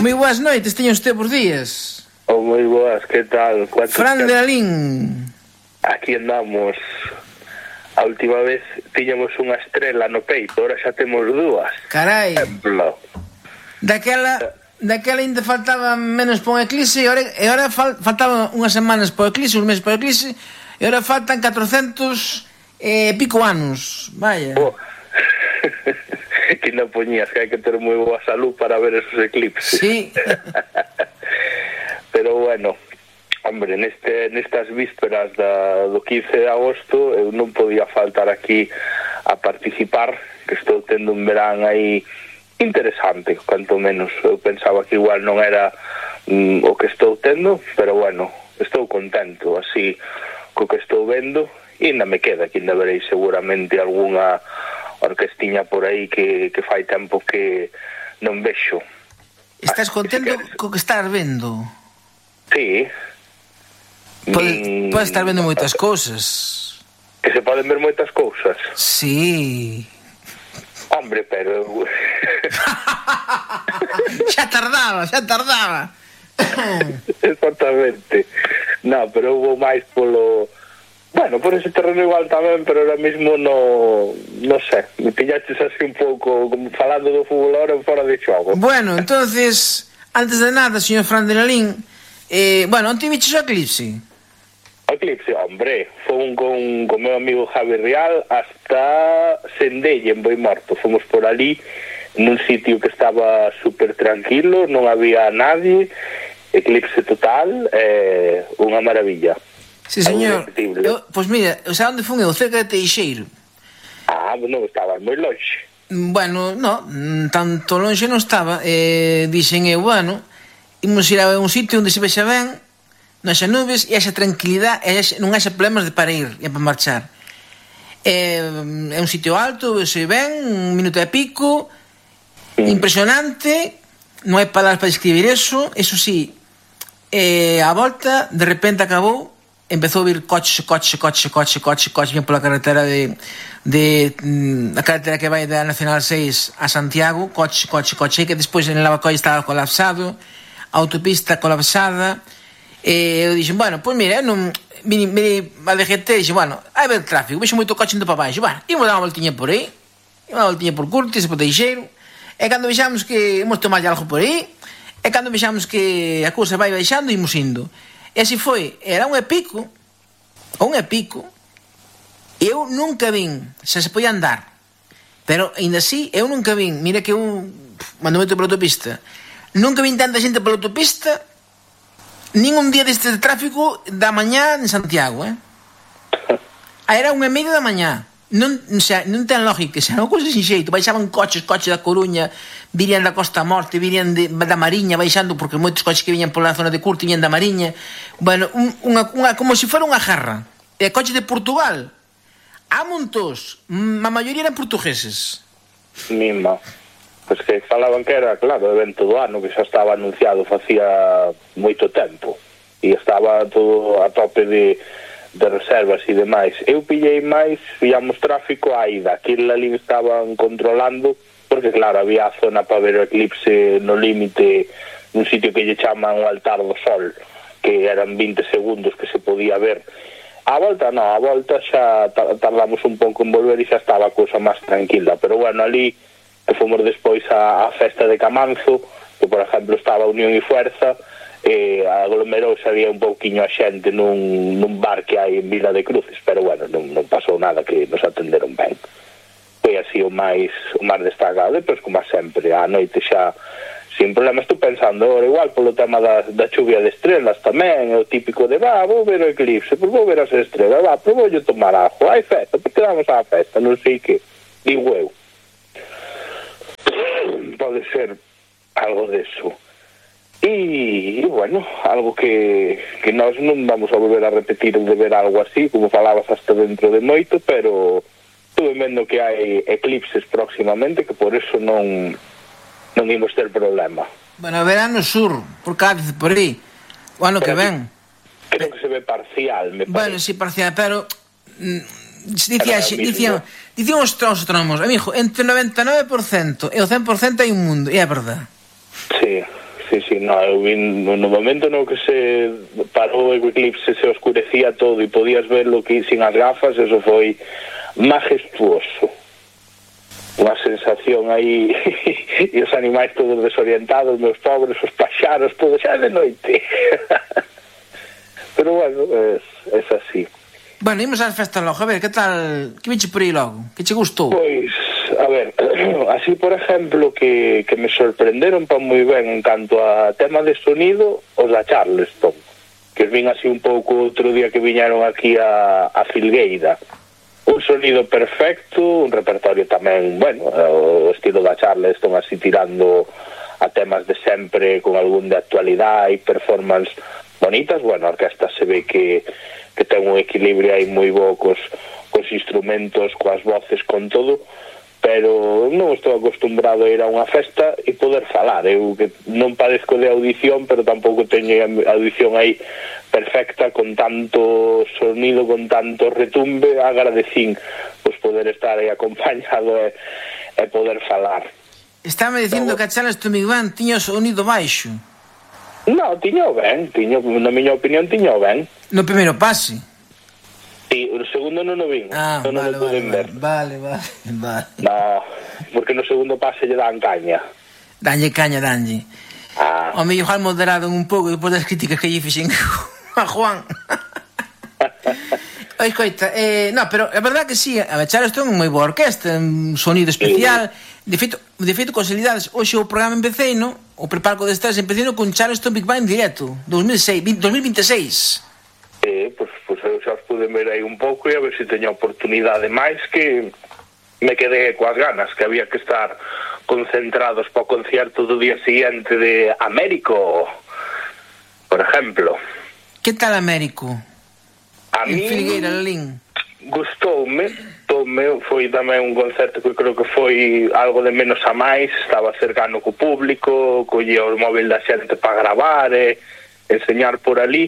Moi boas noites, teño usted por días. Moi boas, que tal? Fran de Lalín. Aquí andamos. A última vez tiñamos unha estrela no peito, ahora xa temos dúas. Carai. Exemplo. Daquela ainda faltaba menos para un eclipse e ahora faltaban unhas semanas para o eclipse, uns meses para o eclipse, e ahora faltan 400 e pico anos. Vaya. Que non poñías que hai que ter moi boa salud para ver esos eclipses. Sí. Pero bueno, hombre, nestas vísperas do 15 de agosto eu non podía faltar aquí a participar, que estou tendo un verán aí interesante, canto menos. Eu pensaba que igual non era o que estou tendo, pero bueno, estou contento así co que estou vendo, e ainda me queda, que ainda verei seguramente algunha orquestiña por aí que fai tempo que non vexo. Estás contento co que estás vendo? Sí. Podes estar vendo moitas cousas. Que se poden ver moitas cousas? Sí. Hombre, pero... xa tardaba. Exactamente. No, pero hubo máis polo... Bueno, por ese terreno igual tamén, pero ahora mismo no sé, me pillaches así un pouco como falando do fútbol ahora en fora de xogo. Bueno, entonces, antes de nada, señor Fran de Lalín, bueno, onde viches o eclipse? O eclipse, hombre, fomos con meu amigo Javi Real hasta Sendelle, en Boimorto. Fomos por ali, nun sitio que estaba super tranquilo, non había nadie, eclipse total, unha maravilla. Sí, señor. Pois mira, onde fun eu? Cerca de Teixeiro. Non estabas moi longe. Bueno, non, tanto longe non estaba. Dixen eu, bueno, imos ir a un sitio onde se vexa ben, non haxa nubes e haxa tranquilidade e non haxa problemas para ir e para marchar. É un sitio alto, vexe ben, un minuto e pico, impresionante, non hai palabras para describir eso sí, a volta, de repente acabou, empezou a vir coche bien pola carretera a carretera que vai da Nacional 6 a Santiago, coche, que despois en Lavacolla estaba colapsado, autopista colapsada, e eu dixen, bueno, pois mira, non vini a DGT e dixen, bueno, hai ver tráfico, vexo moito coche indo para baixo, bueno, imos dar unha voltiña por aí, unha voltiña por Curtis, por Teixeiro, e cando vexamos que imos tomar algo por aí, e cando vexamos que a cousa vai baixando, imos indo. E así foi, era un e pico, e eu nunca vin, xa se podía andar, pero ainda así, eu nunca vin, mira que eu, cando meto pola autopista, nunca vin tanta xente pola autopista, nin un día deste tráfico da mañá en Santiago, era 1:30 da mañá, non ten lógica, xa non cousa sin xeito, baixaban coches da Coruña, virían da Costa Morte, virían da Mariña baixando, porque moitos coches que viñan pola zona de Curto viñan da Mariña, bueno, como se fora unha jarra. E coches de Portugal, a montos, a maioría eran portugueses. Mima. Pois que falaban que era, claro, o evento do ano, que xa estaba anunciado facía moito tempo, e estaba todo a tope de reservas e demais. Eu pillei máis, pillamos tráfico a ida, aquí en Lalín estaban controlando, porque claro, había a zona para ver o eclipse no límite, nun sitio que lle chaman o altar do sol, que eran 20 segundos que se podía ver. A volta non, a volta xa tardamos un pouco en volver e xa estaba a cousa máis tranquila, pero bueno, ali que fomos despois a festa de Camanzo, que por exemplo estaba Unión e Fuerza, aglomerouse, había un pouquiño a xente nun bar que hai en Vila de Cruces, pero bueno, non pasou nada, que nos atenderon ben. Foi así o máis destacado. Depois, como sempre, a noite xa sin problema. Estou pensando agora igual polo tema da chuvia de estrelas tamén, é o típico de, vou ver o eclipse, pois vou ver as estrelas, pois vou tomar ajo, hai festa, pois quedamos á festa, non sei que, digo eu. Pode ser algo deso. E bueno, algo que nós non vamos a volver a repetir de ver algo así, como falabas hasta dentro de moito, pero estuve vendo que hai eclipses próximamente, que por eso non imos ter problema. Bueno, verán no sur, por Cádiz, por aí, o ano que ven. Creo que se ve parcial, me parece. Bueno, sí, parcial, pero dicían os astrónomos, amigo, entre o 99% e o 100% hai un mundo, e é verdade. Sí, sí, no, eu vi no momento no que se parou o eclipse, se oscurecía todo e podías verlo que sin as gafas, eso foi majestuoso. Unha sensación aí e os animais todos desorientados, meus pobres, os paxaros, todo xa de noite. Pero bueno, es así. Bueno, imos ás festas logo, a ver, que tal, que viche por aí logo? Que che gustou? Pois, a ver, así por exemplo que me sorprenderon pa moi ben en canto a tema de sonido, os da Charleston, que vin así un pouco outro día que viñaron aquí a Filgueira. Un sonido perfecto, un repertorio tamén, bueno, o estilo da Charleston así tirando a temas de sempre con algún de actualidade e performance bonitas. Bueno, a orquesta se ve que ten un equilibrio aí moi bo cos instrumentos, coas voces, con todo, pero non estou acostumbrado a ir a unha festa e poder falar. Eu que non padezco de audición, pero tampouco teño audición aí perfecta, con tanto sonido, con tanto retumbe. Agradecín pois poder estar aí acompañado e poder falar. Estame dicindo que a Charleston Big Band tiña o sonido baixo. Non, tiño ben, na miña opinión tiño ben. No primeiro pase. Sí, o segundo non o vin. Vale. No, porque no segundo pase lle dan caña. Danlle. O mellor igual moderado un pouco depois das críticas que lle fixen a Juan. Escoita, no, pero a verdad que sí, a Charleston é moi boa orquesta, un sonido especial. De feito, consolidades, hoxe o programa empecei, no? O prepalco de estás empecei con Charleston Big Band en directo, 2026. Pois eu xa os pude ver aí un pouco e a ver se teño oportunidade máis, que me quedé coas ganas, que había que estar concentrados para o concierto do día siguiente de Américo, por ejemplo. Que tal Américo? A mí Filgueira, Lalín. Gustoume, foi tamén un concerto que creo que foi algo de menos a máis, estaba cercano co público, collía o móvil da xente para gravar e enseñar por ali.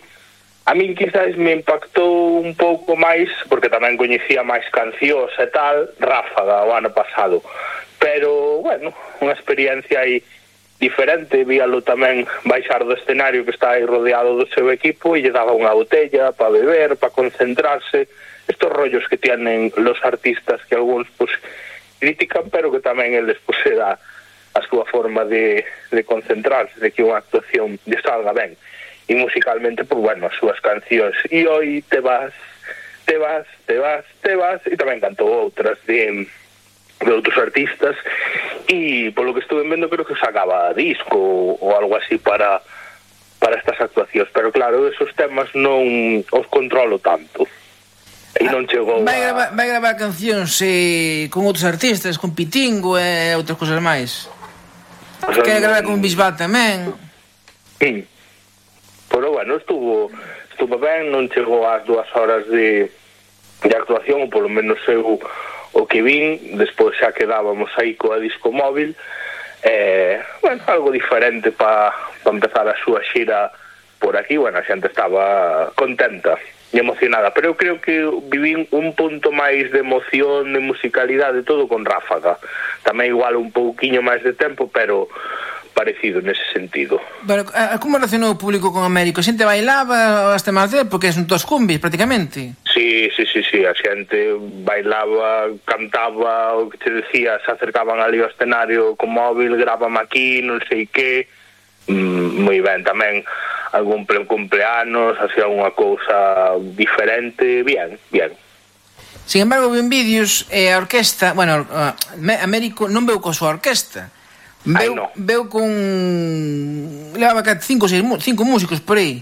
A min quizás me impactou un pouco máis, porque tamén coñecía máis cancións e tal, Ráfaga o ano pasado, pero, bueno, unha experiencia aí diferente. Víalo tamén baixar do escenario, que está aí rodeado do seu equipo, e lle daba unha botella para beber, para concentrarse. Estos rollos que tienen los artistas, que algúns pues critican, pero que tamén eles pues era a súa forma de concentrarse, de que unha actuación lle salga ben. E musicalmente, pues bueno, as súas cancións, e hoy te vas, e tamén cantou outras de outros artistas, e polo que estuve vendo creo que sacaba disco ou algo así para estas actuacións, pero claro, esos temas non os controlo tanto. E non chegou vai gravar cancións con outros artistas, con Pitingo e outras cousas máis. Quere gravar con Bisbal tamén. Pero bueno, estuvo ben, non chegou ás 2 horas de actuación, ou polo menos eu o que vin. Despois xa quedábamos aí coa disco móvil, bueno, algo diferente para empezar a súa xira por aquí. Bueno, a xente estaba contenta e emocionada, pero eu creo que vivín un punto máis de emoción, de musicalidade, todo con Ráfaga. Tamén igual un pouquiño máis de tempo, pero parecido nese sentido. Pero como relacionou o público con Américo? A xente bailaba hasta máis de, porque son todos cumbis prácticamente. Sí, a xente bailaba, cantaba, o que te decía, se acercaban ali ao escenario con móvil, grábame aquí, non sei que. Moi ben, tamén algún cumpleanos, así alguna cousa diferente, bien. Sin embargo, ven vídeos e a orquesta, bueno, Américo non veu coa súa orquesta. Veu con... levaba 5 músicos por aí.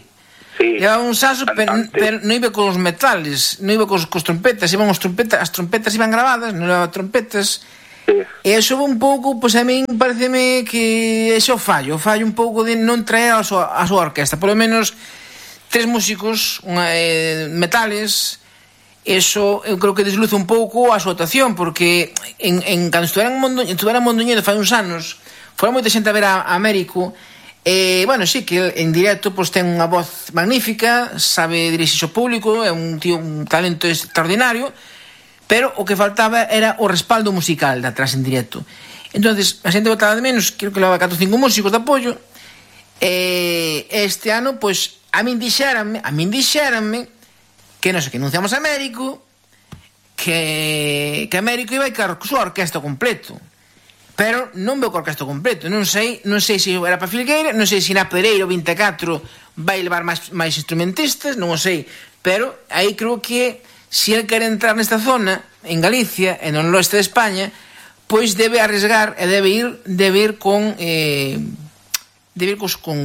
Sí, levaba un saso, pero non iba con os metales, non iba cos trompetas, iban as trompetas iban grabadas, non levaba trompetas. Sí. E iso un pouco, pois a min pareceme que iso fallo un pouco de non traer a súa orquesta, polo menos 3 músicos metales. Eso eu creo que desluce un pouco a súa actuación, porque cando estuvera en Mondoñedo fai uns anos, fora moita xente a ver a Américo. Bueno, sí, que en directo pues, ten unha voz magnífica, sabe dirixirse ao público, é un tío, un talento extraordinario, pero o que faltaba era o respaldo musical de atrás en directo. Entonces, a xente botaba de menos, creo que leva 4 ou 5 músicos de apoio, Este ano, pois, a min dixéranme que non sei, que anunciamos a Américo, que Américo iba a ir ca súa orquesta completo. Pero non veo co orquesta completo. Non sei se era para Filgueira, non sei se na Pereira 24 vai levar máis instrumentistas, non o sei. Pero aí creo que se ele quere entrar nesta zona, en Galicia, e non no oeste de España, pois debe arriesgar e debe ir con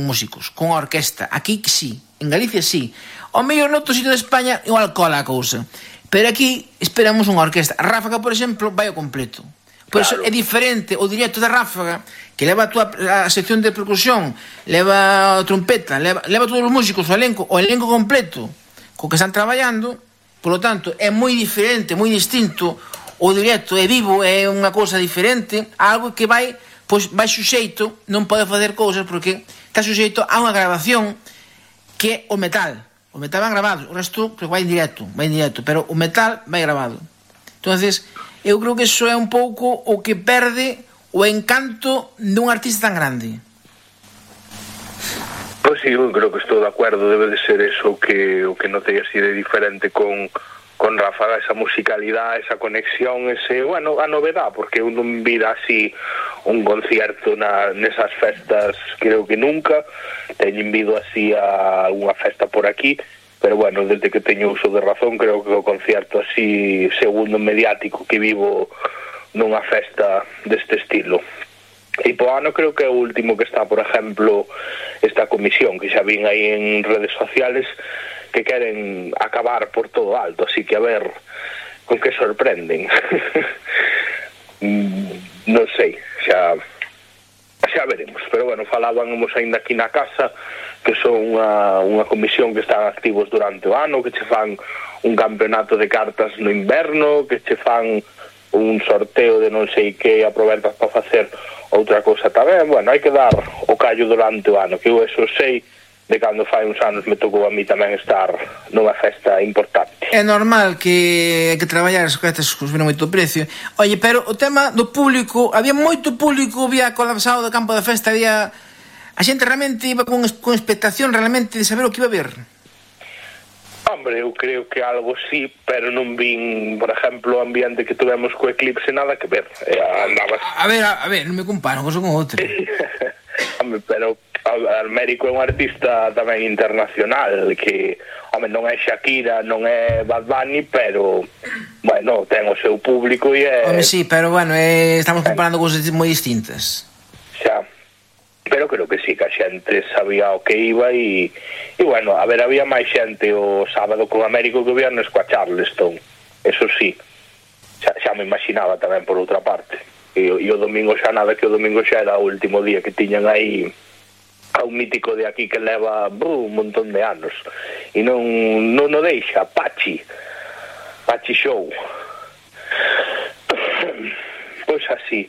músicos, con orquesta. Aquí sí, en Galicia sí. O mellor noutro sitio de España igual cola a cousa. Pero aquí esperamos unha orquesta. Ráfaga, por exemplo, vai ao completo. Por claro. Eso é diferente o directo da Ráfaga, que leva a sección de percusión, leva a trompeta, leva todos os músicos, o elenco completo co que están traballando. Por lo tanto, é moi diferente, moi distinto. O directo é vivo, é unha cousa diferente, algo que vai suxeito, non pode facer cousas porque está suxeito a unha grabación que é o metal. O metal vai grabado, o resto vai en directo, pero o metal vai grabado. Entonces, eu creo que iso é un pouco o que perde o encanto dun artista tan grande. Pois sí, eu creo que estou de acordo, debe de ser eso que notei así de diferente con Ráfaga, esa musicalidade, esa conexión, a novedad, porque eu non vira así un concierto nesas festas, creo que nunca, teñen vido así a unha festa por aquí, pero bueno, desde que teño uso de razón, creo que o concierto así segundo mediático que vivo nunha festa deste estilo. E po ano creo que é o último que está, por exemplo, esta comisión que xa vin aí en redes sociales que queren acabar por todo alto, así que a ver con que sorprenden. Non sei, xa veremos, pero bueno, falábamos ainda aquí na casa que son unha comisión que están activos durante o ano, que che fan un campeonato de cartas no inverno, que che fan un sorteo de non sei que, aproveitas para facer outra cousa tamén. Bueno, hai que dar o callo durante o ano, que eu eso sei de cando fai uns anos me tocou a mí tamén estar nunha festa importante. É normal que traballar as festas subiron moito o precio. Oye, pero o tema do público, había moito público, había colapsado do campo da festa, había a xente realmente iba con expectación realmente de saber o que iba a ver. Hombre, eu creo que algo sí, pero non vin, por exemplo, o ambiente que tuvemos co Eclipse nada que ver. Andabas... A ver, non me comparo con outro. Hombre, pero Américo é un artista tamén internacional que, home, non é Shakira, non é Bad Bunny, pero bueno, ten o seu público e é... Home, sí, pero bueno, estamos comparando cousas moi distintas. Xa, pero creo que sí, que a xente sabía o que iba e bueno, a ver, había máis xente o sábado con Américo que o viernes coa Charleston, eso sí, xa me imaginaba tamén por outra parte. E o domingo xa nada, que o domingo xa era o último día que tiñan aí a un mítico de aquí que leva un montón de anos e non o deixa, Pachi Show. Pois así.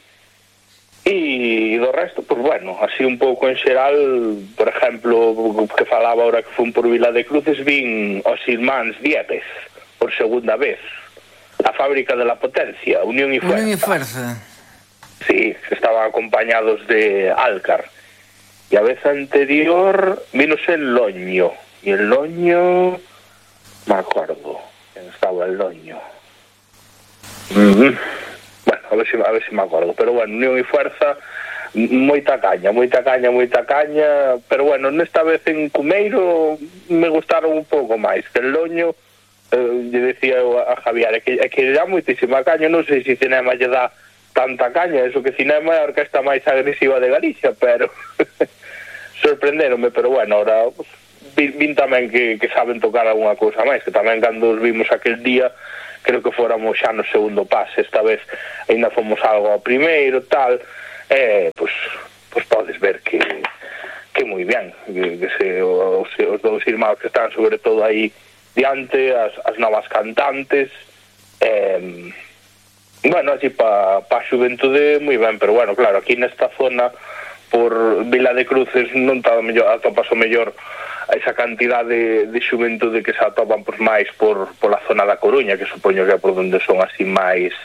E do resto, pois bueno, así un pouco en xeral, por exemplo, que falaba ahora que fun por Vila de Cruces, vin os irmáns Diepes por segunda vez, a fábrica de la potencia, Unión y Fuerza. Sí, estaban acompañados de Alcar. E a vez anterior vinos el Loño. E el Loño... me acordo. ¿Quién estaba el Loño? Bueno, a ver si me acordo. Pero bueno, Unión y Fuerza, moita caña. Pero bueno, nesta vez en Cumeiro me gustaron un pouco máis. Que el Loño, lle decía a Javier, é que dá moitísima caña. Non sei se cinema lle dá tanta caña, eso que cinema é a orquesta máis agresiva de Galicia, pero sorprenderonme, pero bueno, ahora vin tamén que saben tocar alguna cousa máis, que tamén cando os vimos aquel día, creo que fóramos xa no segundo pase, esta vez ainda fomos algo ao primeiro, tal, pues podes ver que moi ben, que os dous irmãos que están sobre todo aí diante, as novas cantantes, bueno, así pa xuventude moi ben, pero bueno, claro, aquí nesta zona por Vila de Cruces non está mellor, atopas o mellor esa cantidade de xuventude que se atopan por máis por la zona da Coruña, que supoño que é por onde son así máis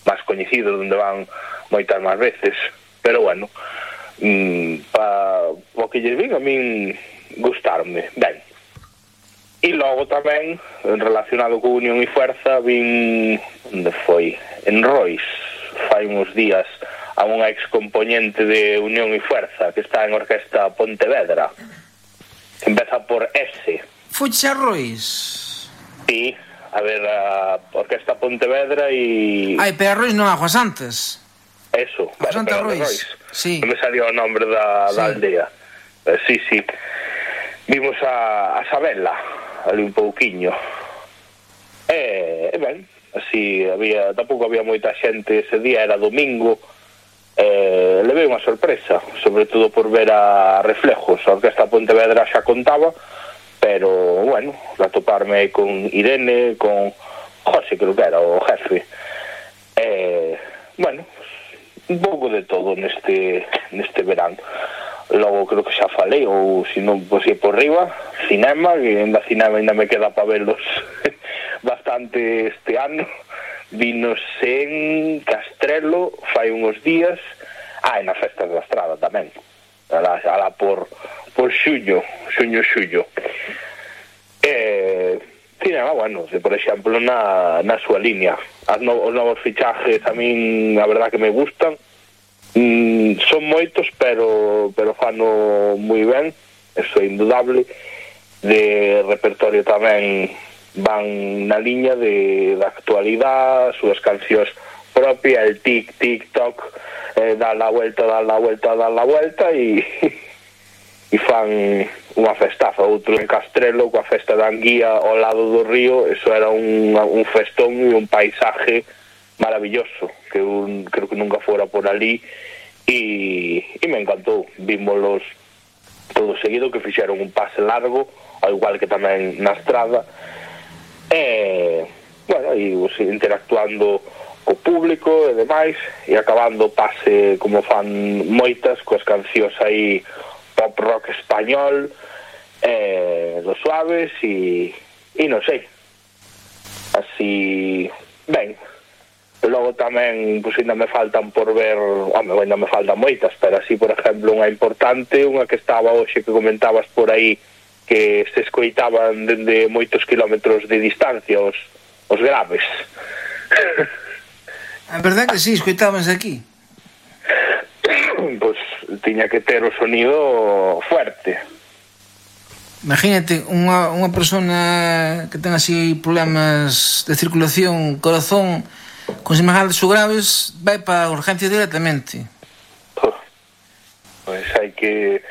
onde van moitas máis veces, pero bueno, o que que lles vin a min gustarme. Ben, e logo tamén, relacionado con Unión e Fuerza, vin, onde foi? En Rois, fai uns días, a unha excomponente de Unión e Fuerza, que está en Orquesta Pontevedra, que empeza por S. Fuches a Rois? Sí, a ver, a Orquesta Pontevedra e... Ai, pero a Rois non, a Juan Santas. Eso, A Santa Rois. Sí. Non me salió o nombre da aldea. Sí. Vimos a Sabela, ali un pouquiño. Ben, así, tampouco había moita xente ese día, era domingo. Levei unha sorpresa, sobre todo por ver a Reflejos. A Orquesta Pontevedra xa contaba, pero, bueno, atoparme con Irene, con José, creo que era o jefe. Bueno, un pouco de todo neste verán. Logo creo que xa falei, ou se non, pois por riba, cinema, que ainda cinema ainda me queda para verlos bastante este ano. Vinos en Castrelo fai uns días, e nas festas da Estrada tamén, alá por xullo. Cinema, bueno, por exemplo, na súa línea. Os novos fichajes a min, a verdad que me gustan. Son moitos, pero fano moi ben, eso é indudable. De repertorio tamén van na liña da actualidade, as súas cancións propias, el TikTok, dar la vuelta e fan unha festaza. Outro en Castrelo, coa festa da Anguía ao lado do río, eso era un festón e un paisaje maravilloso, que creo que nunca fora por ali, e me encantou. Vímolos todo seguido, que fixeron un pase largo, ao igual que tamén na Estrada, bueno, e interactuando co público e demais, e acabando o pase como fan moitas, coas cancións aí pop rock español, dos suaves, e non sei, así, ben. Logo tamén, pois ainda me faltan por ver, ainda me faltan moitas, pero así, por exemplo, unha importante, unha que estaba hoxe, que comentabas por aí, que se escoitaban dende moitos kilómetros de distancia os graves. A verdade que sí, escoitábanse aquí. Pois tiña que ter o sonido fuerte. Imagínate, unha persona que ten así problemas de circulación, corazón, con semejantes ou graves, vai para a urgencia directamente. Pois hai que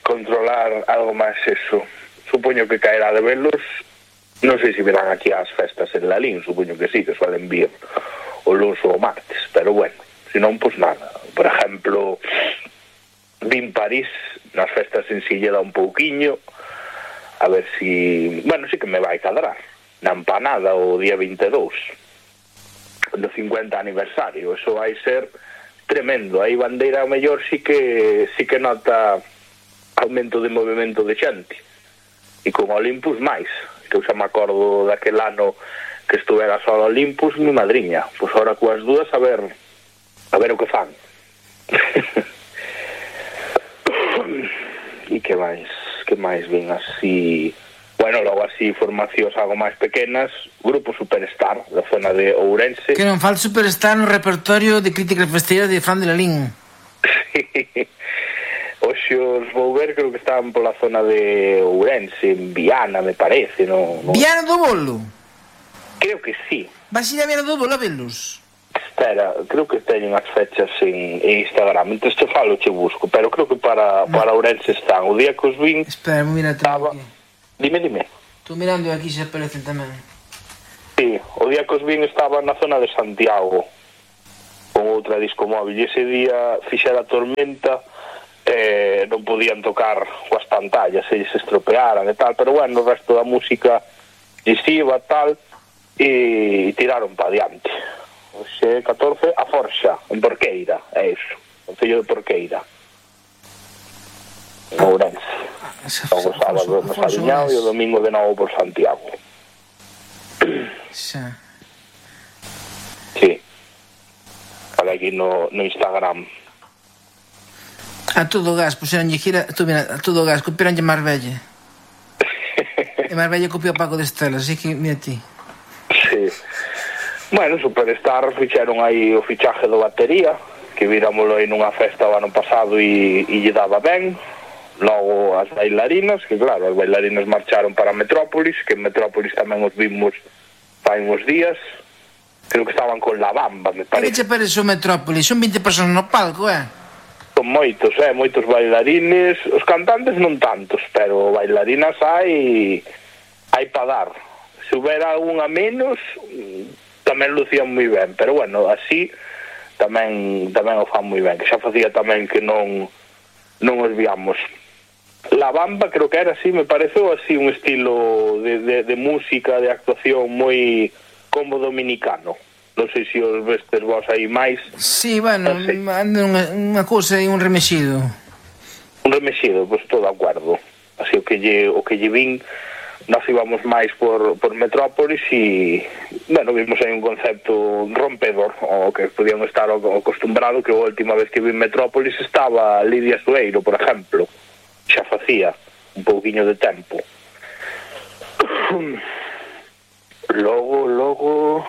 controlar algo máis eso. Supoño que caerá de velos, non sei se verán aquí as festas en Lalín, supoño que sí, que suelen vir o lunes ou o martes, pero bueno, se non, pois nada. Por exemplo, vin París nas festas en Silleda un pouquiño, a ver si, bueno, sí que me vai cadrar na empanada o día 22 do 50 aniversario. Eso vai ser tremendo. Aí Bandeira ao mellor sí que nota aumento de movimento de xente, e con Olympus máis, que eu xa me acordo daquel ano que estuvera só Olympus, mi madriña. Pois ahora coas dúas a ver o que fan. E que máis ven así, bueno, logo así formacións algo máis pequenas, Grupo Superstar da zona de Ourense. Que non falta Superstar no repertorio de crítica festeira de Fran de Lalín. Sí. Hoxe os vou ver, creo que estaban pola zona de Ourense, en Viana, me parece, no... Viana do Bolo? Creo que sí. Vas ir a Viana do Bolo a velos? Espera, creo que teñen as fechas en Instagram, entón te falo, che busco, pero creo que para Ourense están. O día que os vin... Espera, mira, estaba... Dime. Estou mirando aquí se aparecen tamén. Sí, o día que os vin estaba na zona de Santiago, con outra disco móvil, e ese día fixera tormenta, non podían tocar coas pantallas, se estropearan e tal, pero bueno, o resto da música lesiva, tal, e tiraron pa diante. Oxe, 14, a Forxa, en Porqueira, é iso, o Concello de Porqueira, en Ourense. O sábado no Saliñao e o domingo de novo por Santiago. Xa. Sí. Para aquí no Instagram. A todo gas, puseronlle gira, mira, a todo gas, copiaronlle Marbella. E Marbella copiou Paco de Estela, así que mira ti. Sí. Bueno, Superstar fixeron aí o fichaje do batería, que virámoslo aí nunha festa o ano pasado e lle daba ben. Logo as bailarinas, que claro, as bailarinas marcharon para Metrópolis, que en Metrópolis tamén os vimos fai uns días. Creo que estaban con La Bamba, me parece. Que che parece o Metrópolis? Son 20 personas no palco, Son moitos bailarines. Os cantantes non tantos, pero bailarinas hai para dar. Se houbera algunha menos, tamén lucían moi ben, pero bueno, así tamén o fan moi ben, que xa facía tamén que non os viamos. La Bamba creo que era así, me pareceu así un estilo de música, de actuación moi como dominicano. Non sei se os vestes vos aí máis. Sí, bueno, ando unha cousa e un remexido. Un remexido, pois estou de acordo. Así o que lle vin, nós íbamos máis por Metrópolis e, bueno, vimos aí un concepto rompedor, o que podíamos estar acostumbrado, que a última vez que vi Metrópolis estaba Lidia Sueiro, por exemplo. Xa facía un pouquiño de tempo. Logo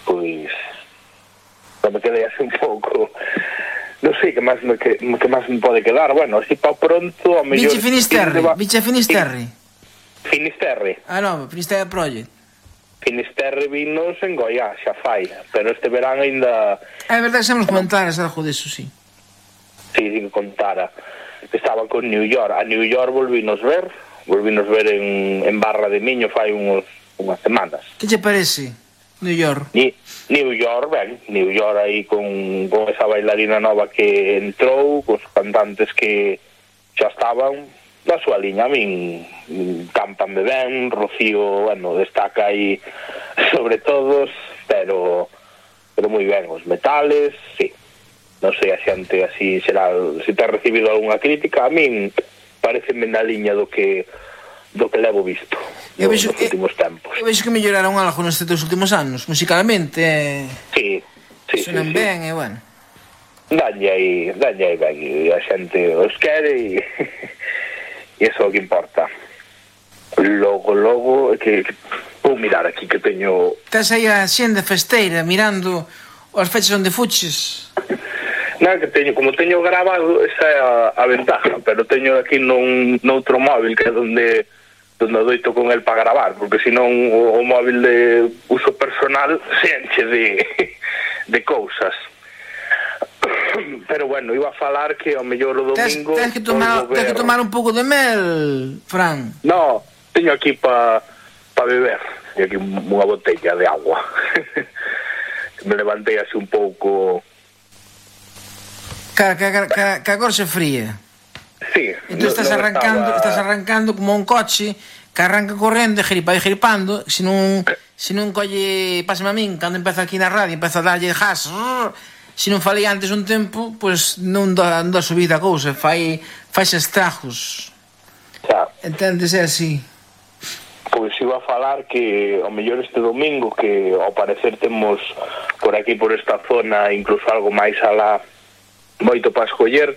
pois non me quedei así un pouco, non sei que máis me pode quedar. Bueno, así pa pronto a mellor Viche Finisterre. Finisterre. Ah, non, Finisterre Project. Finisterre vinos en Goiás, xa fai, pero este verán ainda... É verdade que xa nos comentaras algo disso, sí. Sí, que contara. Estaban con New York. A New York volvínos ver en Barra de Miño fai unhas semanas. Que che parece New York? New York, ben, New York aí con esa bailarina nova que entrou, cos cantantes que xa estaban da súa liña. A min campanme ben, Rocío, bueno, destaca aí sobre todos, pero moi ben, os metales, sí. Non sei a xente así xeral, se te ha recibido algunha crítica. A min pareceme na liña do que levo visto nos últimos tempos. Eu vexo que melloraron algo nestes dos últimos anos, musicalmente. Sí. Sonan ben, e bueno. Dalle aí ben, e a xente os quere e iso é o que importa. Logo, que vou mirar aquí que teño... Estás aí a xenda festeira mirando as fechas onde fuches. Non, que como teño grabado, esa é a ventaja, pero teño aquí noutro móvil que é donde adoito con el para gravar, porque senón o móvil de uso personal se enche de cousas. Pero bueno, iba a falar que ao mellor o domingo... Tens que tomar un pouco de mel, Fran. No, teño aquí para beber, teño aquí unha botella de agua. Me levantei así un pouco... Que agora se fría. Sí. Entón estás arrancando como un coche que arranca correndo e gripando. Se non colle, pásame a min, cando empeza aquí na radio, empeza a darlle gas, se non falei antes un tempo, pois non dá subida a cousa, fai estragos. Xa. Entendes, é así. Pois iba a falar que ao mellor este domingo, que ao parecer temos por aquí, por esta zona, incluso algo máis alá, moito para escoller,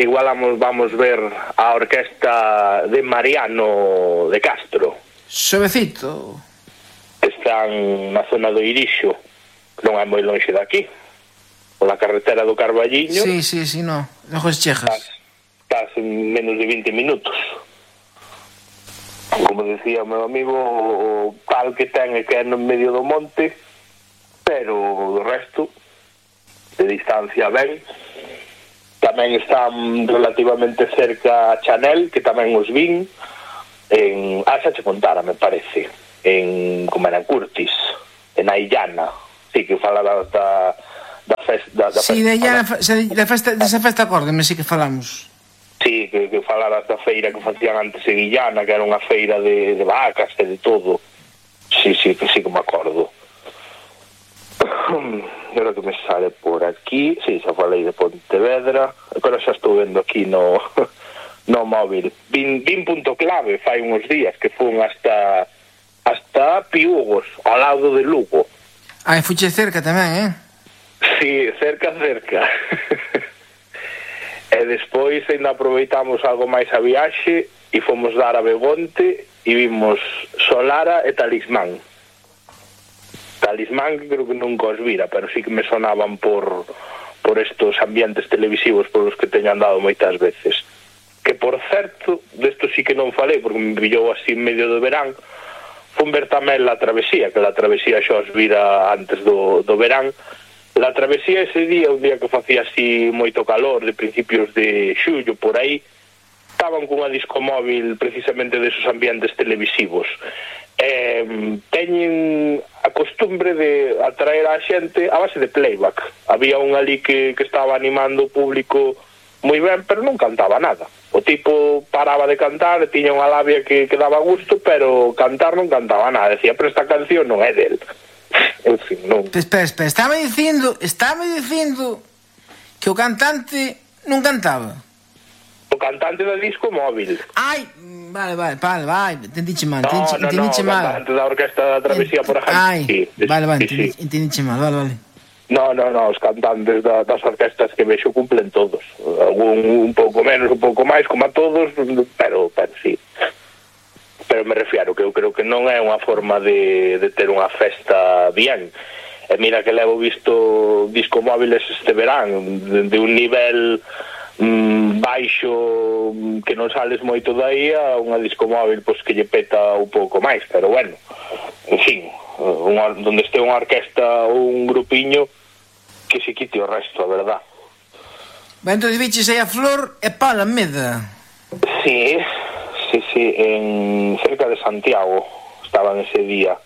igual vamos ver a orquesta de Mariano de Castro. Suavecito. Están na zona do Irixo, non é moi lonxe daqui, pola carretera do Carballiño. Sí, no, lejos chejas. Estás en menos de 20 minutos. Como decía o meu amigo, o tal que ten é que é no medio do monte, pero do resto de distancia ben. Tamén están relativamente cerca a Chanel, que tamén os vin en... xa che contara, me parece, en como era, Curtis, en Aillana. Sí, que falaba da festa... Sí, desa festa acórdeme, sí que falamos. Sí, que falaras da feira que facían antes en Illana, que era unha feira de vacas e de todo. Sí, que me acordo. Agora que me sale por aquí, sí, xa falei de Pontevedra, agora xa estou vendo aquí no móvil. Vin punto clave fai uns días, que fun hasta Piugos, ao lado de Lugo. Fuche cerca tamén, Sí, cerca. E despois ainda aproveitamos algo máis a viaxe e fomos dar a Begonte e vimos Solara e Talismán. Talismán que creo que nunca os vira, pero sí que me sonaban por estos ambientes televisivos por os que teño andado moitas veces. Que, por certo, desto sí que non falei, porque me pillou así en medio do verán, fun ver tamén La Travesía, que La Travesía xa os vira antes do verán. La Travesía ese día, un día que facía así moito calor, de principios de xullo, por aí, estaban cunha discomóvil precisamente desos ambientes televisivos. Teñen a costumbre de atraer a xente a base de playback. Había un ali que estaba animando o público moi ben, pero non cantaba nada. O tipo paraba de cantar, tiña unha labia que daba gusto, pero cantar non cantaba nada. Decía, pero esta canción non é del. En fin, non. Espera, estaba dicindo que o cantante non cantaba. O cantante do disco móvil. Ai, vale, entendiche mal, No, o cantante da orquesta da Travesía, por ejemplo. Ai, sí, vale, sí. entendiche mal, vale. No, os cantantes das orquestas que vexo cumplen todos. Algún un pouco menos, un pouco máis, como a todos, pero sí. Pero me refiero que eu creo que non é unha forma de ter unha festa bien. E mira que levo visto discomóviles este verán de un nivel baixo que non sales moito dai a unha discomóvil pois que lle peta un pouco máis, pero bueno, en fin, donde este unha orquesta ou un grupiño que se quite o resto, a verdad. Ben, entón viches aí a Flor e Paula Meda. Sí, en cerca de Santiago estaban ese día.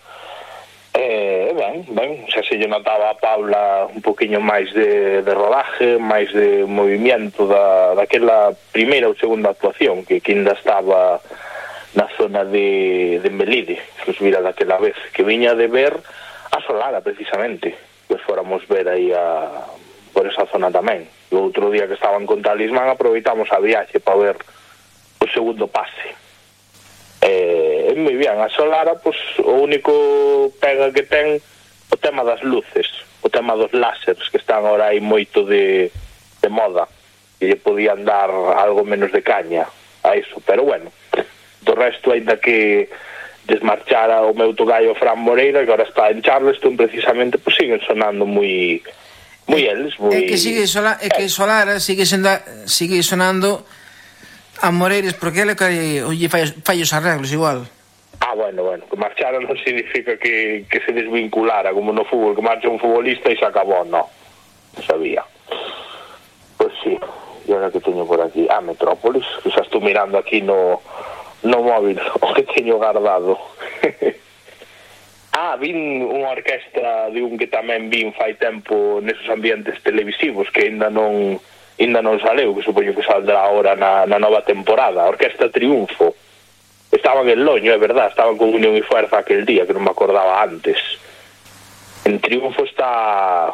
Ben, xa se lle notaba a Paula un poquinho máis de rodaje, máis de movimiento daquela primeira ou segunda actuación que ainda estaba na zona de Melide, que os vira daquela vez, que viña de ver a Solara precisamente, que fóramos ver aí por esa zona tamén. O outro día que estaban con Talismán aproveitamos a viaxe para ver o segundo pase. Moi bien, a Solara, pues, o único pega que ten o tema das luces, o tema dos láseres, que están ahora aí moito de moda, e lle podían dar algo menos de caña a iso, pero bueno, do resto, ainda que desmarchara o meu togallo Fran Moreira, que ahora está en Charleston precisamente, pues siguen sonando moi eles, moi... É que Solara sigue sonando a Moreiras, porque ele lle fai os arreglos igual. Bueno, que marchara non significa que se desvinculara, como no fútbol, que marcha un futbolista e se acabou, non sabía. Pois sí, e ahora que teño por aquí, Metrópolis, que xa estou mirando aquí no móvil o que teño guardado. Vin unha orquestra de un que tamén vin fai tempo nesos ambientes televisivos que ainda non saleu, que supoño que saldrá ahora na nova temporada, a Orquesta Triunfo. Estaban en Loño, é verdad, estaban con Unión e Fuerza aquel día, que non me acordaba antes. En Triunfo está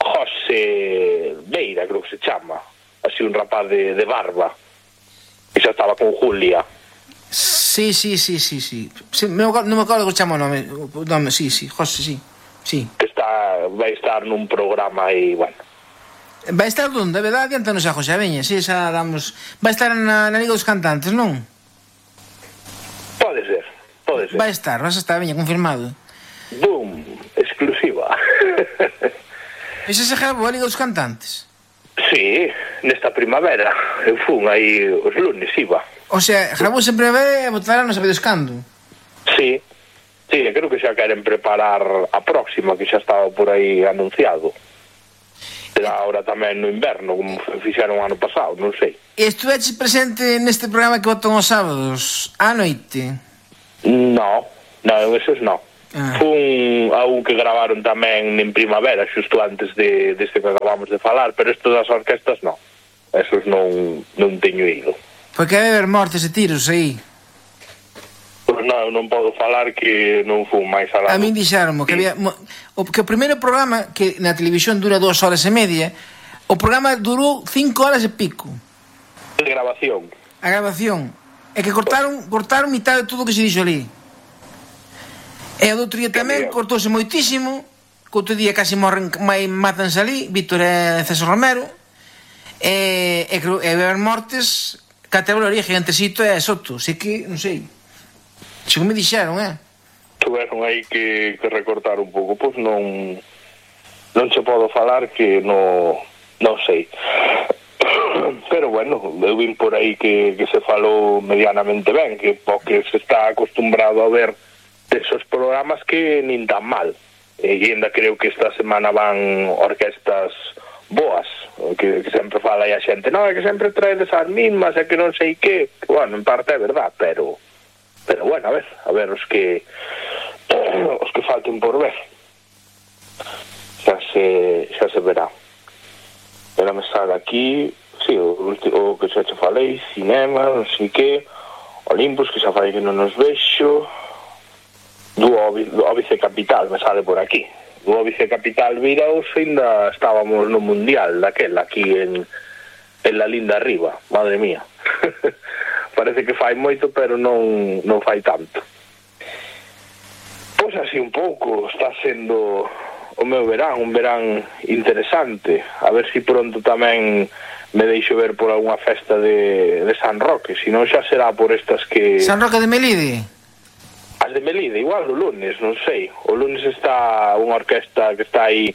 José Beira, creo que se chama, así un rapaz de barba, que xa estaba con Julia. Sí, non me acordo que chama o nome, sí, José, sí. Que vai estar nun programa aí, bueno. Vai estar onde? Verdade, adiantanos a José, veña, si xa damos... Vai estar na Liga dos Cantantes, non? Pode ser. Vai estar, veña, confirmado. Boom, exclusiva. E xa se grabou a Liga dos Cantantes? Sí, nesta primavera. Eu fun aí os lunes, iba. O sea, grabou en primavera e botará non sabedes cando? Sí, creo que xa queren preparar a próxima, que xa estaba por aí anunciado. Será ahora tamén no inverno, como fixeron o ano pasado, non sei. E estuveches presente neste programa que botan os sábados á noite? Non, esos non. Fun a un que gravaron tamén en primavera, xusto antes deste que acabamos de falar, pero isto das orquestas non. Esos non teño ido. Porque hai haber mortes e tiros aí. Pois non podo falar que non fun máis alá. A min dixeronmo que había que o primeiro programa, que na televisión dura 2 horas e media, o programa durou 5 horas e pico. De grabación. A grabación. É que cortaron mitad de todo o que se dixo ali. E o do outro día tamén cortouse moitísimo, que outro día casi matanse ali, Víctor e César Romero, e haber mortes que até o origen entre Sito e Soto, así que, non sei, según me dixeron, tuveron aí que recortar un pouco, pois non se podo falar que non sei. Pero bueno, eu vin por aí que se falou medianamente ben, que porque se está acostumbrado a ver esos programas que nin tan mal. E ainda creo que esta semana van orquestas boas, que sempre fala aí a xente, non, é que sempre traedes as mismas, é que non sei que, bueno, en parte é verdad, pero bueno, a ver os que falten por ver. Xa se verá. Era me sale aquí, sí, o que xa te falei, cinema, non sei que, Olympus, que xa falei que non nos vexo, do Óbice Capital, me sale por aquí. Do Óbice Capital viraos, ainda estábamos no Mundial, daquela, aquí en la linda arriba, madre mía. Parece que fai moito, pero non fai tanto. Pois así un pouco, está sendo o meu verán, un verán interesante. A ver se pronto tamén me deixo ver por algunha festa de San Roque, se non xa será por estas que... San Roque de Melide? As de Melide, igual o lunes, non sei. O lunes está unha orquesta que está aí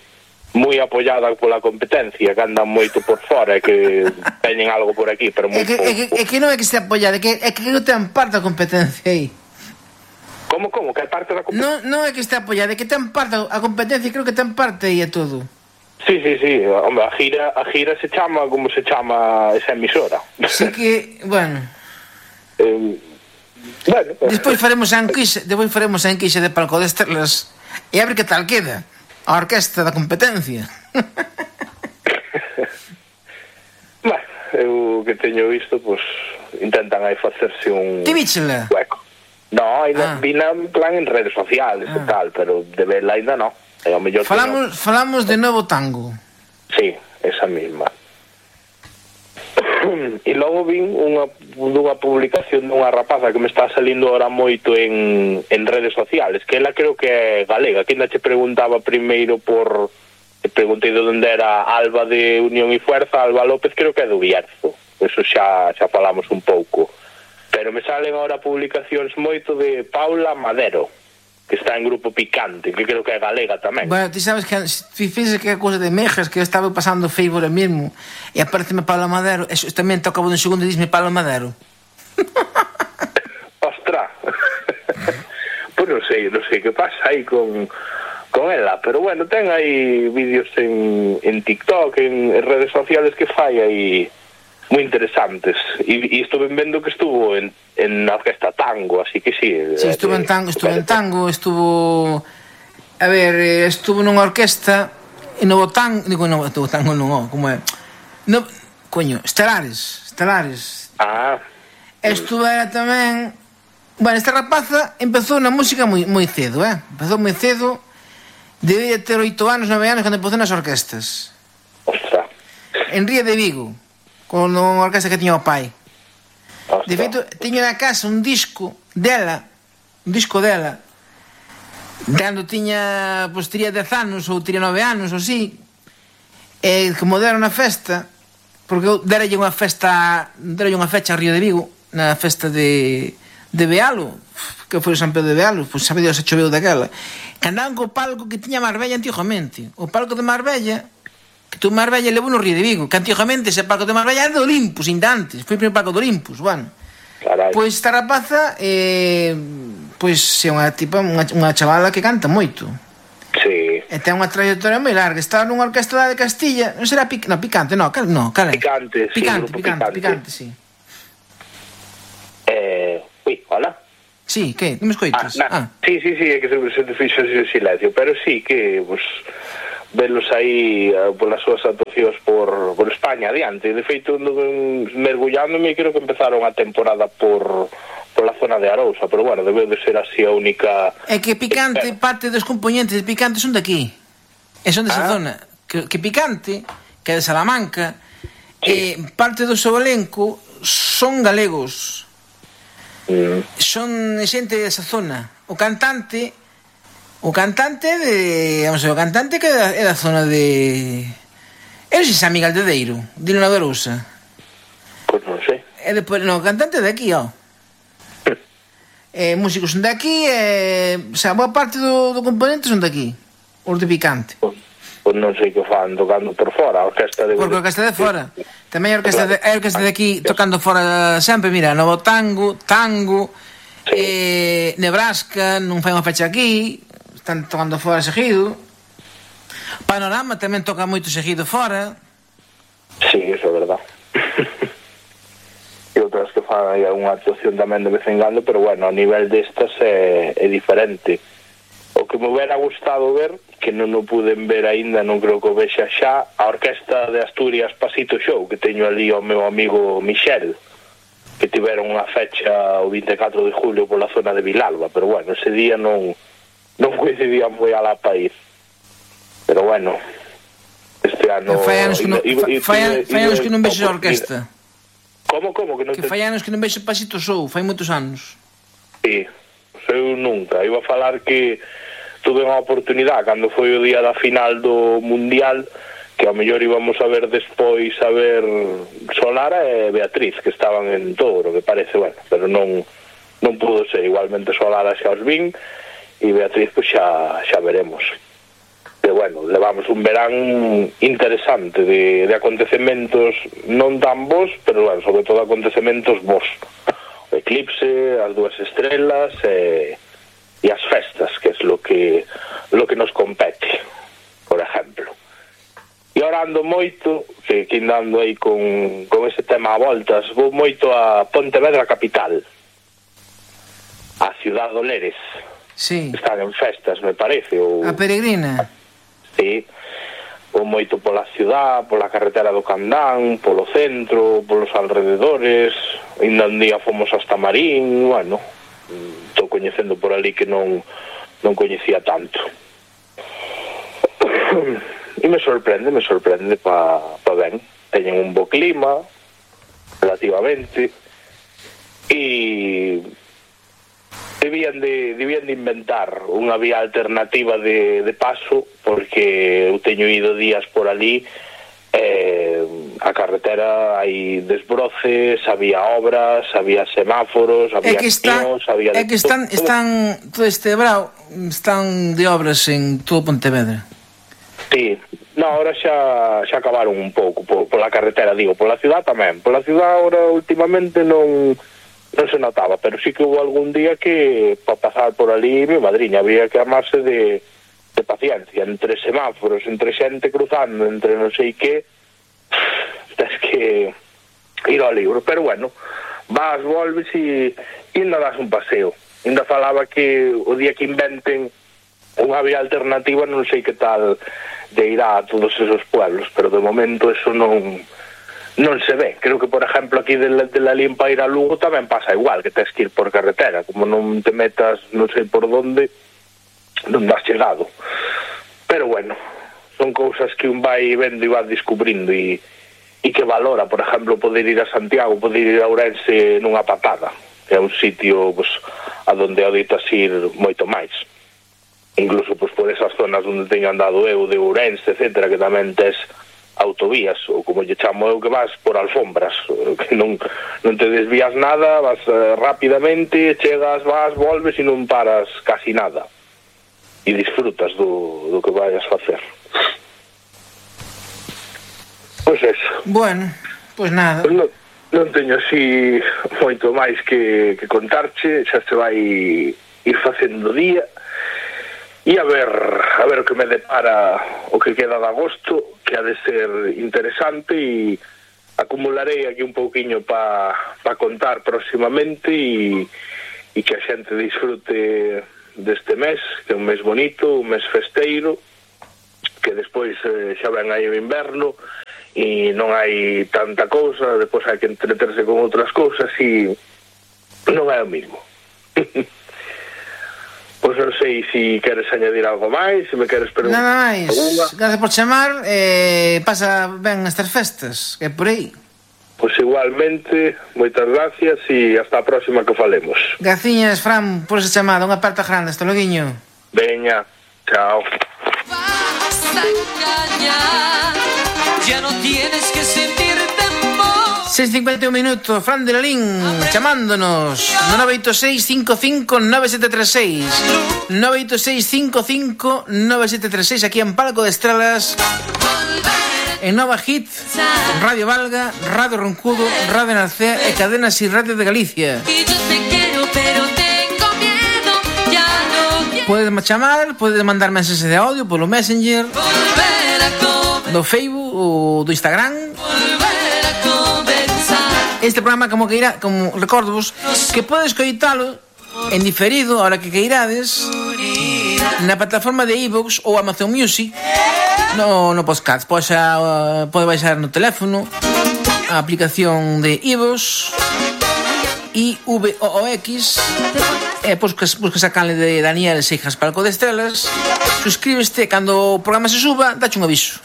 moi apoiada pola competencia, que andan moito por fora e que teñen algo por aquí, pero moi pouco. É que non é que estea apoiada, é que non ten parte da competencia aí. Como? Que é parte da competencia? Non é que estea apoiada, é que ten parte a competencia, creo que ten parte aí e todo. Sí, hombre, a gira se chama como se chama esa emisora. Así que, bueno... Bueno, despois faremos a enquixa de palco de estrelas e a ver que tal queda a orquesta da competencia. Bueno, eu que teño visto, pues intentan aí facerse un... Ti víchela? Hueco. No, ainda vina en plan en redes sociales e tal, pero de verla ainda no. Falamos de Novo Tango. Sí, esa misma. E logo vin dunha publicación dunha rapaza que me está salindo ahora moito en redes sociales, que ela creo que é galega, que ainda che preguntaba primeiro preguntei de onde era Alba de Unión e Fuerza, Alba López creo que é do Bierzo, eso xa falamos un pouco, pero me salen ahora publicacións moito de Paula Madero, que está en Grupo Picante, que creo que é galega tamén. Bueno, ti sabes que fíxese que é cousa de mejas, que eu estaba pasando Facebook ahora mesmo e apareceme Paula Madero, eso tamén toca un segundo e disme Paula Madero. Ostra. Pois non sei que pasa aí con ela, pero bueno, ten aí vídeos en TikTok, en redes sociales que fai aí moi interesantes, e estuve vendo que estuvo en a orquesta tango, así que sí. Sí, estuvo en tango, estuvo nunha orquesta en Novo Tango, Novo Tango non, como é? No, coño, Estelares. Estuvera tamén, bueno, esta rapaza empezou na música moi cedo, empezou moi cedo, debía ter 8 anos, 9 anos cando empezou nas orquestas. Ostra. En Ría de Vigo, con unha orquesta que tiña o pai. De feito, teño na casa un disco dela, cando tiña, pois tería 10 anos ou tería 9 anos ou así, e como deron na festa, porque eu deralle unha fecha a Río de Vigo, na festa de Bealo, que foi o San Pedro de Bealo, pois sabe Dios se choveu daquela, que andaban co palco que tiña Marbella antigamente, o palco de Marbella, que tu Marbella levou no Río de Vigo, que antigamente ese palco de Marbella era de Olympus, ainda antes, foi o primeiro palco de Olympus, bueno. Carai. Pois esta rapaza pois é unha tipa, unha chavala que canta moito. Sí. E ten unha trayectoria moi larga, estaba nunha orquestra de Castilla, non será Picante, no, cal é? Picante, sí. Hola. Sí, que? Non me escoitas? Sí, é que se te fixo ese silencio, pero sí que, pues, velos aí polas súas actuacións por España adiante. De feito, mergullándome, creo que empezaron a temporada por la zona de Arousa, pero bueno, debe de ser así a única... É que Picante, parte dos componentes de Picante son de aquí, e son desa zona. Que Picante, que é de Salamanca, parte do seu elenco son galegos, son xente desa zona. O cantante O cantante de... Vamos a ver, o cantante que é da zona de... Eu sei se é Miguel Dedeiro, de Luna Verousa. Pois non sei. E depois, no, o cantante é de aquí, ó. Músicos son de aquí, o sea, boa parte do componente son de aquí. Os de Picante. Pois non sei que fan tocando por fora, a orquesta de... Porque a orquesta de fora. Tamén a orquesta de aquí tocando fora sempre, mira, Novo Tango, Nebraska, non fai unha fecha aquí, están tocando fora seguido. Panorama tamén toca moito seguido fora. Sí, eso é verdad. E outras que fan aí unha actuación tamén de vez en cando, pero bueno, a nivel destas é diferente. O que me hubiera gustado ver, que non o puden ver aínda, non creo que o vexa xa, a orquesta de Asturias Pasito Show, que teño ali o meu amigo Michel, que tiveron unha fecha o 24 de julio pola zona de Vilalba, pero bueno, ese día non coincidía moi a la país. Pero bueno, este ano... Fai anos que non vexo a orquesta. Como? Que fai anos que non vexo Pasito Show, fai moitos anos. Sí, eu nunca. Iba a falar que tuve unha oportunidade cando foi o día da final do Mundial, que ao mellor íbamos a ver despois a ver Solara e Beatriz, que estaban en Touro, que parece, bueno, pero non pudo ser. Igualmente Solara xa os vin e Beatriz pois xa veremos. Que bueno, levamos un verán interesante de acontecementos non tan bons, pero bueno, sobre todo acontecementos bons. O eclipse, as dúas estrelas e as festas, que é lo que nos compete, por exemplo. E ahora ando moito, que andando aí con ese tema a voltas, vou moito a Pontevedra capital, a Ciudad do Leres. Sí. Están en festas, me parece. A peregrina. Sí, vou moito pola ciudad, pola carretera do Candán, polo centro, polos alrededores. Ainda un día fomos hasta Marín. Bueno, estou coñecendo por ali que non coñecía tanto. E me sorprende pa ben. Teñen un bo clima relativamente e debían de inventar unha vía alternativa de paso, porque eu teño ido días por ali, a carretera hai desbroces, había obras, había semáforos, había piños, había... É que están todo este brao, están de obras en todo Pontevedra. Sí, no, ahora xa acabaron un pouco pola carretera, digo, pola ciudad tamén. Pola ciudad ahora últimamente non se notaba, pero sí que hubo algún día que para pasar por ali, mi madriña, había que armarse de paciencia, entre semáforos, entre xente cruzando, entre non sei que, tens que ir ao libro. Pero bueno, vas, volves e ainda das un paseo. Ainda falaba que o día que inventen unha vía alternativa non sei que tal de ir a todos esos pueblos, pero de momento eso non se ve. Creo que, por exemplo, aquí de la Limpa ir a Lugo tamén pasa igual, que tens que ir por carretera. Como non te metas non sei por donde, non das chegado. Pero bueno, son cousas que un vai vendo e vai descubrindo e que valora, por exemplo, poder ir a Santiago, poder ir a Ourense nunha patada. É un sitio pues, a donde aditas ir moito máis. Incluso pues, por esas zonas onde teño andado eu, de Ourense, etcétera, que tamén tes autovías, ou como lle chamo eu, que vas por alfombras, que non te desvías nada, vas rapidamente, chegas, vas, volves e non paras casi nada e disfrutas do que vayas facer. Pois eso. Bueno, pois nada. Pues non teño así moito máis que contarche, xa se vai ir facendo día. E a ver o que me depara o que queda de agosto, que ha de ser interesante, e acumularei aquí un pouquiño para contar próximamente e que a xente disfrute deste mes, que é un mes bonito, un mes festeiro, que despois xa ven aí o inverno e non hai tanta cousa, despois hai que entreterse con outras cousas e non é o mismo. Pois non sei se queres añadir algo máis, se me queres preguntar. Nada máis, gracias por chamar, pasa ben estas festas, que é por aí. Pois igualmente, moitas gracias e hasta a próxima que falemos. Graciñas, Fran, por esa chamada, unha aperta grande, hasta loguiño. Veña, chao. Ya no tienes que sentir temor. 6:51 minutos, Fran de Lalín chamándonos no 986-55-9736 986-55-9736 aquí en Palco de Estrelas, en Nova Hit, Radio Valga, Radio Roncudo, Radio Narcea e Cadenas y Radio de Galicia. Podes chamar, podes mandar mensaxes de audio polo Messenger, do Facebook ou do Instagram. Este programa, como recordovos, que podes coitalo en diferido, ahora que queirades, na plataforma de iVoox ou Amazon Music, no podcast. Pode baixar no teléfono a aplicación de iVoox, IVOOX, buscas a canle de Daniel Seijas Palco de Estrelas, suscríbeste, cando o programa se suba, dache un aviso.